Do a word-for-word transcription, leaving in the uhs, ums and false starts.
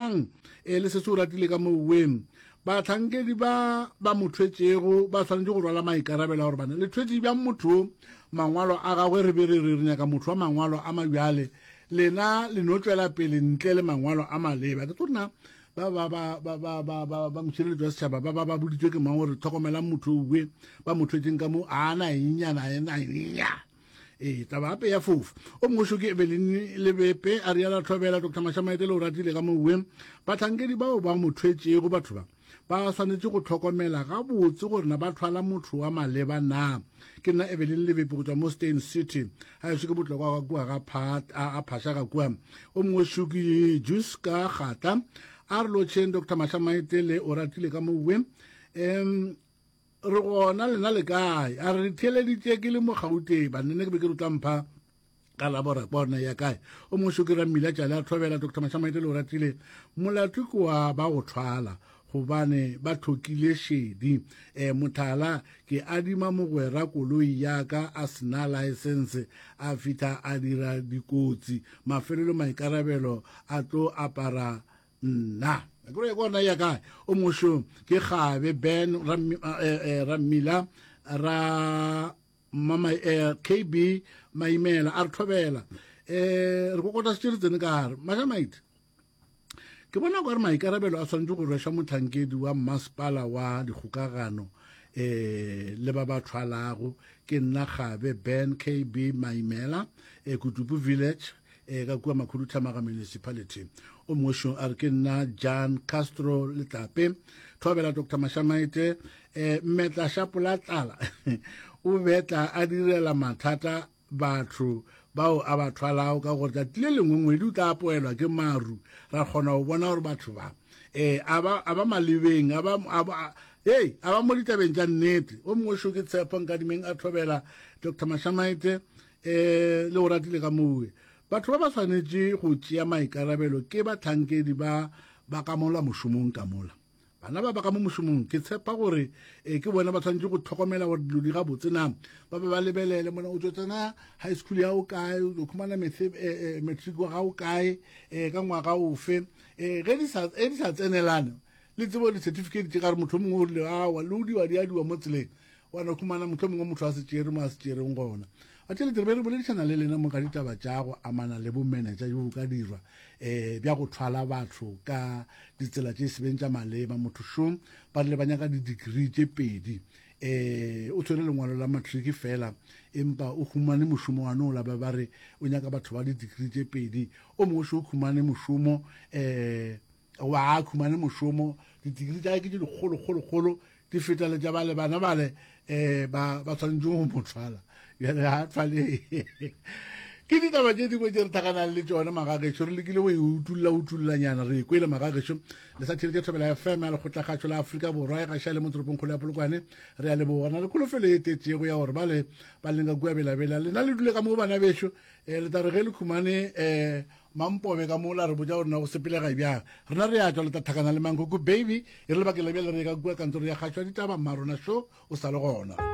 Lebogang e le se se o ratile ka moweng. Bahlankedi ba ba mo thwetšego ba swanetše go rwala maikarabelo a gore bana le thwetše bjang motho mangwalo a gagwe, re be re re re nyaka motho wa mangwalo a mabjale, lena le no tšwela pele ntle le mangwalo a maleba. Ke tlo rena ba ba ba ba ba ba ba ba mošireletšo wa setšhaba ba ba ba boditswe ke mang gore tlhokomelang motho owe ba mo thwetšeng ka mo a na ennyana ena enya. Ee, taba gape ya fofa. O mongwe šo ke Evelyn Lebepe a riala thobela Doctor Mashamaetele o ratile ka mowe. Bahlankedi bao ba mo thwetšego batho ba ba swanetše go hlokomela gabotse gore na ba thwala motho wa maleba na. Ke nna Evelyn Lebepe go tšwa mo Steyn City. Ga ešo ke botlokwa ga kua ga a Phasha ga kua. O mongwe šo ke Juska Gata a re lotšheng Doctor Mashamaetele o ratile ka mowe. Um re gona lena le kae? A re theeleditše ke le mo Gauteng, banne ke be ke re tla mpha ka labora bona ya kae. O mongwe šo ke Rammila Tšale a thobela Doctor Mashamaetele o ratile. Molato ke wa ba go thwala gobane ba tlhokile šedi. E mothala ke adima mogwera koloi ya ka a sena license, a fihla a dira dikotsi, mafelelo maikarabelo a tlo apara nna. Ke re bona ya kae. O mongwe ke Gabe Ben Rammila ra mama K B Maimela a re thobela. Eh re kokota se re tsene ka gare. Mashamaite ke bona gore maikarabelo a swanetše go rwešwa mohlankedi wa mmasepala wa dikgokagano eh le ba ba thwalago. Ke nna Gabe Ben K B Maimela e Kutupu Village e ka kua Makhuduthamaga Municipality. O mongwe a re ke nna Jan Castro Letlape thobela Doctor Mashamaite. Eh mmetla shapola tlala o betla a direla mathata batho bao a ba thwalago ka gore tšatši le lengwe ngwedi o tla apoelwa ke maru, ra kgona go bona gore batho ba eh a ba a ba malebeng, a ba a ba hey a ba mo ditabeng tša nnete. O mongwe šo ke Tshepo Nkadimeng a thobela Doctor Mashamaite eh le o ratile ka mowe. Batho ba ba swanetše go tšea maikarabelo ke bahlankedi ba ba ka mola mošomong ka mola. Bana ba ba ka mo mošomong ke tshepa gore eh ke bona ba tshwanetse go tlhokomela gore dilo di gabotse na. Ba be ba lebelele mona o tšo tsena high school ya o kae, o khumana matric wa gago kae, eh ka ngwaga ofe. Eh ge di sa di sa tsenelane le tsebo di certificate tše ka re motho o mongwe o rile awa le o diwa di adiwa mo tseleng, wa no khumana motho o mongwe motho a se tšere mo a se tšereng gona. A tšhelete re be re boledišana le lena mo ka ditaba tša go amana le bomenetša jo bo ka dirwa eh bja go thwala batho ka ditsela tše sebeng tša maleba. Motho šo ba rile ba nyaka di-degree tše pedi, eh o tshwere lengwalo la matric fela empa o humane mošomo wa nola ba ba re o nyaka batho ba di-degree tše pedi. O mongwe šo o humane mošomo eh wa humane mošomo di-degree tša ke tše dikgolo kgolo kgolo di feta le tša bale bana bale eh ba ba tshwanetse go mo thwala. Bjale ga thwale. Ke ditaba tše dingwe tše re tlhakanang le tšona magagešo, re lekile go e utulla utullanyana re kwele magagešo. Le sa theletše Thobela F M ya Lekgotlakgašo la Afrika Borwa e gaša le mo toropongkgolo ya Polokwane. Re a leboga na le kholofelo e tetšego ya gore bale ba leng ka kua Belabela lena le dule ka mo bana bešo, eh le tla re ge le khumane eh mampobe ka mola re botša gore na go sepelega bjang. Rena re a tšwa le tla tlhakana le Mankoko Baby e re lebakeng la bjale re ye ka kua kantoro ya kgašo ya ditaba. Mmarona šo o sa le gona.